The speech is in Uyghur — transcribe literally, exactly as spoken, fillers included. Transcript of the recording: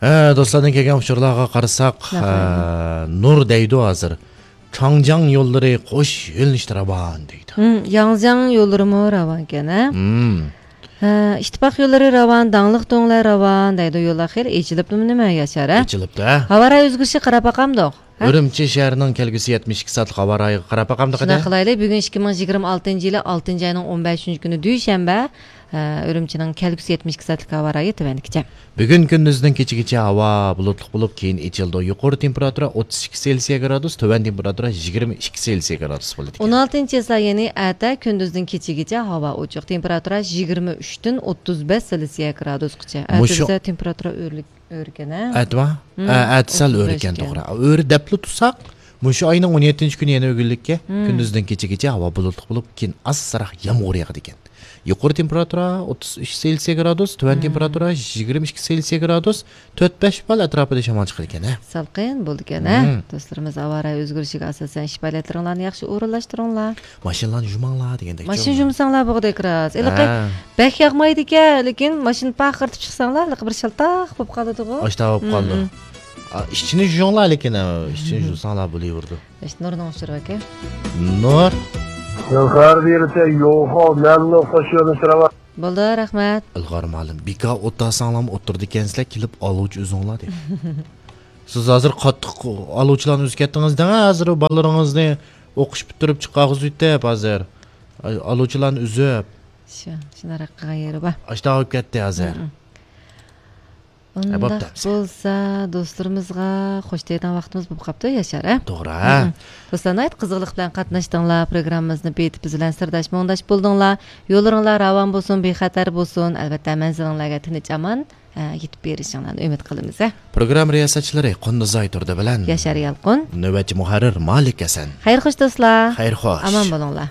ھە، دوستلاردىن كەلگەن ئۇچۇرلارغا قارىساق، ھە، نۇر دەيدۇ ھازىر. چاڭجياڭ يوللىرى قوش يۆنىلىشتە راۋان دەيدۇ. ھىم، ياڭزياڭ يوللىرىمۇ راۋانكەن، ھە؟ ھىم. ھە، ئىتتىپاق يوللىرى راۋان، داڭلىق دۆڭلەر راۋان دەيدۇ. يوللار خېلى ئېچىلىپتۇ نېمە ياشار، ھە؟ ئېچىلىپتۇ، ھە؟ ھاۋا رايى ئۆزگىرىشىگە قاراپ باقامدۇق، ھە؟ ئۈرۈمچى شەھىرىنىڭ كەلگۈسى يەتمىش ئىككى سائەتلىق ھاۋا رايىغا قاراپ باقامدۇق، شۇنداق قىلايلى، بۈگۈن ئىككى مىڭ يىگىرمە ئالتىنچى يىلى ئالتىنچى ئاينىڭ ئون بەشىنچى كۈنى دۈشەنبە. ئە، ئۈرۈمچىنىڭ كەلگۈسى يەتمىش ئىككى سائەتلىك ھاۋا رايى تۆۋەندىكىچە. بۈگۈن كۈندۈزدىن كېچىگىچە ھاۋا بۇلۇتلۇق بولۇپ، كېيىن ئېچىلىدۇ. يۇقىرى تېمپېراتۇرا ئوتتۇز ئىككى سېلسىيە گرادۇس، تۆۋەن تېمپېراتۇرا يىگىرمە ئىككى سېلسىيە گرادۇس بولىدىكەن. ئون ئالتىنچى چېسلا، يەنى ئەتە كۈندۈزدىن كېچىگىچە ھاۋا ئوچۇق، تېمپېراتۇرا يىگىرمە ئۈچتىن ئوتتۇز بەش سېلسىيە گرادۇسقىچە. ئەتە مۇشۇ بىزدە تېمپېراتۇرا ئۆرلۈك. ئۆركەن، ھە؟ ئەتىۋا؟ مم. ئە، ئەتىسەل ئوتتۇز بەش ئۆركەن، ئىكەن. توغرا. ئۆرى دەپلا تۇرساق، مۇشۇ ئاينىڭ ئون يەتتىنچى كۈنى يەنە ئۆگۈنلۈككە، مم، كۈندۈزدىن كېچىگىچە ھاۋا بۇلۇتلۇق بولۇپ، كېيىن ئازراق يامغۇر ياغىدىكەن. يۇقىرى تېمپېراتۇرا ئوتتۇز ئۈچ سېلسىيە گرادۇس، تۆۋەن، مم، تېمپېراتۇرا يىگىرمە ئىككى سېلسىيە گرادۇس، تۆت بەش بال ئەتراپىدا شامال چىقىدىكەن، ھە؟ سالقىن بولىدىكەن، ھە؟ مم. دوستلىرىمىز، ھاۋا رايى ئۆزگىرىشىگە ئاساسەن ئىش پائالىيەتلىرىڭلارنى ياخشى ئورۇنلاشتۇرۇڭلار. ماشىنىلارنى يۇماڭلار دېگەندەك. ماشىنا يۇمساڭلار بولغۇدەك راست. ھېلىقى، ھە، بەك ياغمايدىكەن، لېكىن ماشىنا پارقىرىتىپ چىقساڭلار، ھېلىقى بىر شالتاق بولۇپ قالىدىغۇ. ئاشتا بولۇپ قالىدۇ. مم، مم. ئا، ئىچىنى يۇيۇڭلار، لېكىن، ئا، ئىچىنى، مم، يۇيساڭلار بولۇۋېرىدۇ. ئاشتا نۇرنىڭ ئۇچۇرى ئىكەن. نۇر. يوخار بېرىسە يوخو، مەلۇم ئوخشاش يۆنىلىش راۋان. بولدى، رەھمەت. ئىلغار مۇئەللىم، بىكار ئولتۇرساڭلارمۇ ئولتۇرىدىكەنسىلەر، كېلىپ ئالغۇچ ئۈزۈڭلار دەيدۇ. سىز ھازىر قاتتىق ئالغۇچىلارنى ئۈزۈپ كەتتىڭىز دەڭ، ھازىر بالىلىرىڭىزنى ئوقۇش پۈتتۈرۈپ چىقارغۇزۇۋېتىپ ھازىر. ئالغۇچىلارنى ئۈزۈپ. شۇ، شۇنداق قىلغان يېرى بار. ئاشتا بولۇپ كەتتى ھازىر. مم. ھە، بوپتۇ، ئۇنداق بولسا، دوستلىرىمىزغا خوش دەيدىغان ۋاقتىمىز بولۇپ قاپتۇ، ياشار، ھە؟ توغرا، ھە؟ مم. دوستلار، ناھايىتى قىزغىنلىق بىلەن قاتناشتىڭلار، پروگراممىمىزنى بېيىتىپ بىز بىلەن سىرداش مۇڭداش بولدۇڭلار. يوللىرىڭلار راۋان بولسۇن، بىخەتەر بولسۇن. ئەلۋەتتە، مەنزىلىڭلارغا تىنچ ئامان، ئە، يېتىپ بېرىشىڭلارنى ئۈمىد قىلىمىز، ھە؟ پروگرامما رىياسەتچىلىرى قۇندۇزئاي تۇردى بىلەن ياشار يالقۇن. نۆۋەتچى مۇھەررىر مالىك ھەسەن. خەير خوش، دوستلار. خەير خوش. ئامان بولۇڭلار.